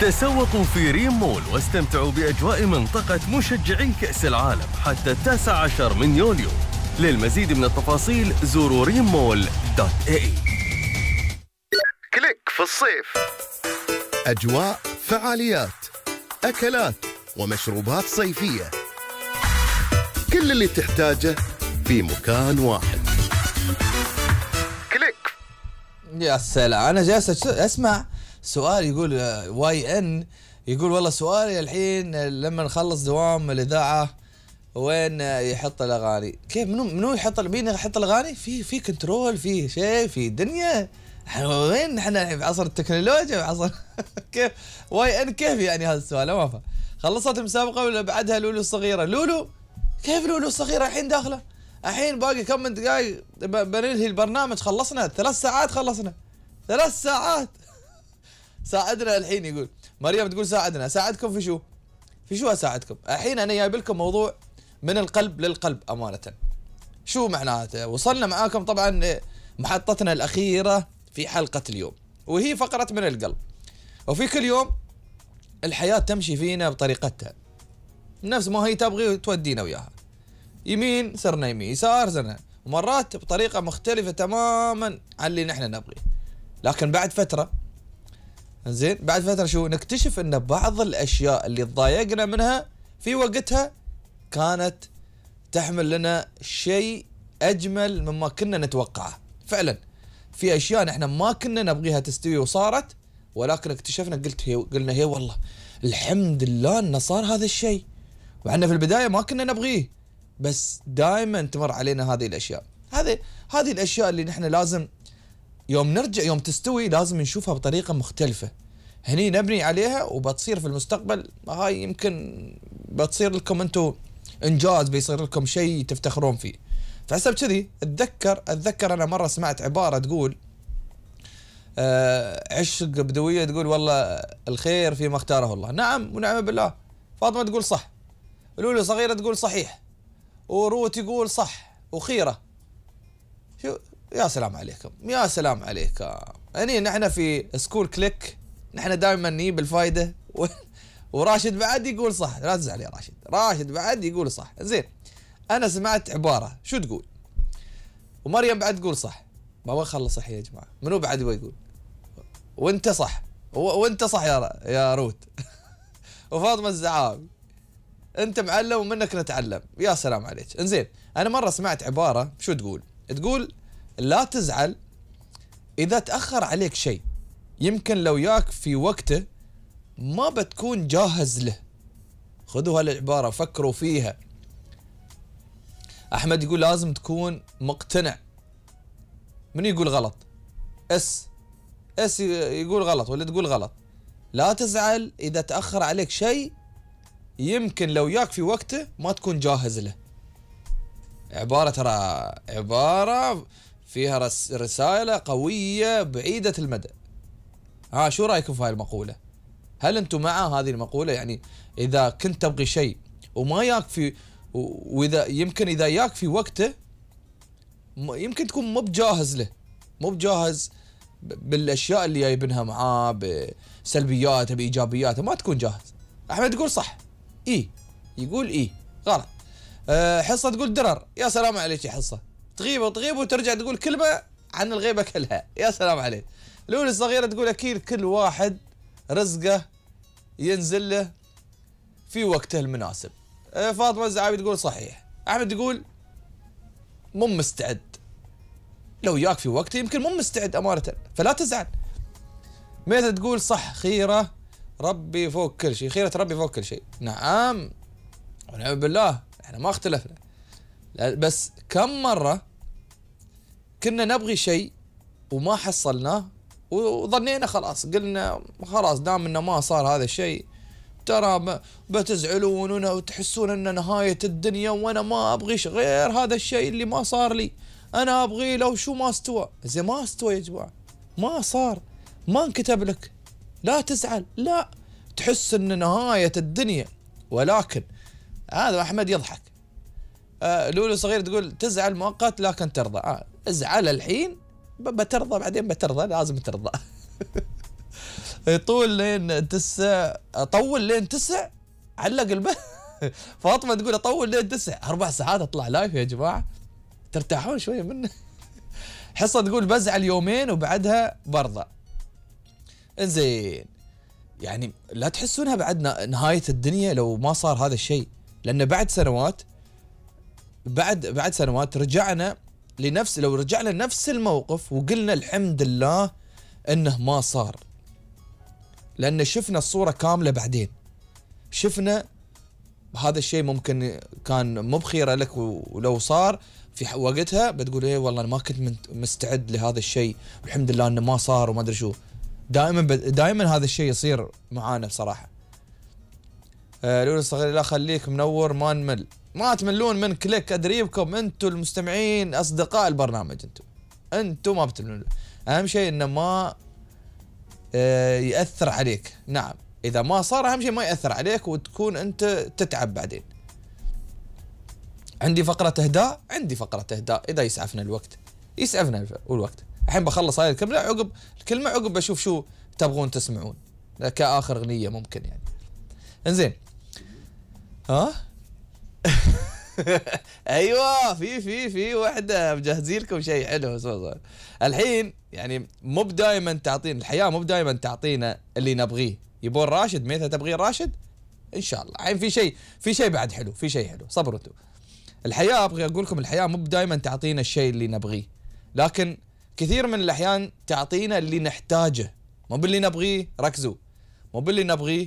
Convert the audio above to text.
تسوقوا في ريم مول واستمتعوا بأجواء منطقة مشجعي كأس العالم حتى 19 من يوليو. للمزيد من التفاصيل زوروا rimmall.ae. كليك في الصيف. أجواء، فعاليات، أكلات ومشروبات صيفية، كل اللي تحتاجه في مكان واحد. كليك. يا سلام، أنا جالس أسمع سؤال يقول واي ان، يقول والله سؤالي الحين لما نخلص دوام الإذاعة وين يحط الأغاني؟ كيف منو يحط؟ مين يحط الأغاني؟ في كنترول، في شيء، في دنيا. وين احنا في عصر التكنولوجيا وعصر كيف واي ان؟ كيف يعني هذا السؤال؟ ما فهم. خلصت المسابقة ولا بعدها لولو الصغيرة؟ لولو كيف لولو الصغيرة الحين داخلة؟ الحين باقي كم دقايق بننهي البرنامج. خلصنا 3 ساعات، خلصنا 3 ساعات. ساعدنا الحين. يقول مريم تقول ساعدنا. ساعدكم في شو؟ في شو اساعدكم؟ الحين انا جايب لكم موضوع من القلب للقلب امانه. شو معناته؟ وصلنا معاكم طبعا محطتنا الاخيره في حلقه اليوم، وهي فقره من القلب. وفي كل يوم الحياه تمشي فينا بطريقتها، نفس ما هي تبغي تودينا وياها. يمين صرنا يمين، يسار صرنا، ومرات بطريقه مختلفه تماما عن اللي نحن نبغيه. لكن بعد فتره، زين بعد فترة شو نكتشف ان بعض الاشياء اللي تضايقنا منها في وقتها كانت تحمل لنا شيء اجمل مما كنا نتوقعه. فعلا في اشياء نحن ما كنا نبغيها تستوي وصارت، ولكن اكتشفنا قلنا هي والله الحمد لله انه صار هذا الشيء، وعنا في البداية ما كنا نبغيه، بس دائما تمر علينا هذه الاشياء. هذه الاشياء اللي نحن لازم يوم نرجع، يوم تستوي لازم نشوفها بطريقة مختلفة، هني نبني عليها وبتصير في المستقبل. هاي يمكن بتصير لكم انتم انجاز، بيصير لكم شيء تفتخرون فيه. فحسب كذي اتذكر انا مرة سمعت عبارة تقول عشق بدوية تقول والله الخير فيما اختاره الله. نعم ونعم بالله. فاطمة تقول صح، لولو صغيرة تقول صحيح، وروت يقول صح، وخيرة. شو يا سلام عليكم، يا سلام عليكم. يعني نحن في سكول كليك نحن دائما نجيب الفايدة وراشد بعد يقول صح. لا تزعل يا راشد بعد يقول صح. زين انا سمعت عبارة شو تقول، ومريم بعد تقول صح. ما خلص صح يا جماعة. منو بعد يقول وانت صح، وانت صح يا روت وفاطمة الزعابي انت معلم ومنك نتعلم. يا سلام عليك. انزين انا مرة سمعت عبارة شو تقول لا تزعل إذا تأخر عليك شيء، يمكن لو ياك في وقته ما بتكون جاهز له. خذوا هالعبارة فكروا فيها. أحمد يقول لازم تكون مقتنع. من يقول غلط؟ اس يقول غلط ولا تقول غلط؟ لا تزعل إذا تأخر عليك شيء، يمكن لو ياك في وقته ما تكون جاهز له. عبارة ترى عبارة فيها رسالة قوية بعيدة المدى. شو رأيكم في هاي المقولة؟ هل أنتم مع هذه المقولة؟ يعني إذا كنت تبغي شيء وما ياك في، وإذا يمكن إذا ياك في وقته يمكن تكون مو بجاهز له، مو بجاهز بالأشياء اللي جايبينها معاه، بسلبياته بإيجابياته، ما تكون جاهز. أحمد يقول صح، يقول غلط. حصة تقول درر. يا سلام عليك يا حصة، تغيب وترجع تقول كلمة عن الغيبة كلها. يا سلام عليك. لولي الصغيرة تقول أكيد كل واحد رزقه ينزل له في وقته المناسب. فاطمة الزعابي تقول صحيح. أحمد يقول مو مستعد، لو ياك في وقته يمكن مو مستعد أمانة، فلا تزعل. ميثا تقول صح، خيرة ربي فوق كل شيء، خيرة ربي فوق كل شيء. نعم ونعم بالله، احنا ما اختلفنا، بس كم مرة كنا نبغي شيء وما حصلناه وظنينا خلاص، قلنا خلاص دام انه ما صار هذا الشيء ترى بتزعلون وتحسون ان نهاية الدنيا، وانا ما ابغي غير هذا الشيء اللي ما صار لي، انا ابغي لو شو ما استوى. زي ما استوى يا جماعة، ما صار، ما انكتب لك، لا تزعل، لا تحس ان نهاية الدنيا. ولكن هذا أحمد يضحك. لولو صغير تقول تزعل مؤقت لكن ترضى. ازعل الحين بترضى بعدين، بترضى، لازم ترضى. يطول لين 9، اطول لين 9 علق البث. فاطمه تقول اطول لين 9، 4 ساعات اطلع لايف يا جماعه، ترتاحون شويه منه. حصه تقول بزعل يومين وبعدها برضى. انزين يعني لا تحسونها بعد نهايه الدنيا لو ما صار هذا الشيء، لان بعد سنوات، بعد سنوات رجعنا لنفس، لو رجعنا لنفس الموقف وقلنا الحمد لله انه ما صار، لان شفنا الصوره كامله بعدين، شفنا هذا الشيء ممكن كان مو بخيره لك، ولو صار في وقتها بتقول ايه والله انا ما كنت مستعد لهذا الشيء، والحمد لله انه ما صار وما ادري شو. دائما هذا الشيء يصير معانا بصراحه. لولو الصغير لا خليك منور ما نمل، ما تملون من كليك، ادريبكم انتم المستمعين اصدقاء البرنامج، انتم ما بتملون. اهم شيء انه ما ياثر عليك. نعم اذا ما صار اهم شيء ما ياثر عليك وتكون انت تتعب بعدين. عندي فقره اهداء، عندي فقره اهداء اذا يسعفنا الوقت، يسعفنا الوقت. الحين بخلص هاي الكلمه، عقب بشوف شو تبغون تسمعون كاخر اغنيه ممكن يعني. انزين ها ايوه في وحده مجهزين لكم شيء حلو. الحين يعني مو بدايما تعطينا الحياه، مو بدايما تعطينا اللي نبغيه. يبون راشد، ميثا تبغين راشد ان شاء الله. الحين في شيء بعد حلو، في شيء حلو، صبروا انتم. الحياه ابغى اقول لكم الحياه مو بدايما تعطينا الشيء اللي نبغيه، لكن كثير من الاحيان تعطينا اللي نحتاجه، مو باللي نبغيه. ركزوا، مو باللي نبغيه،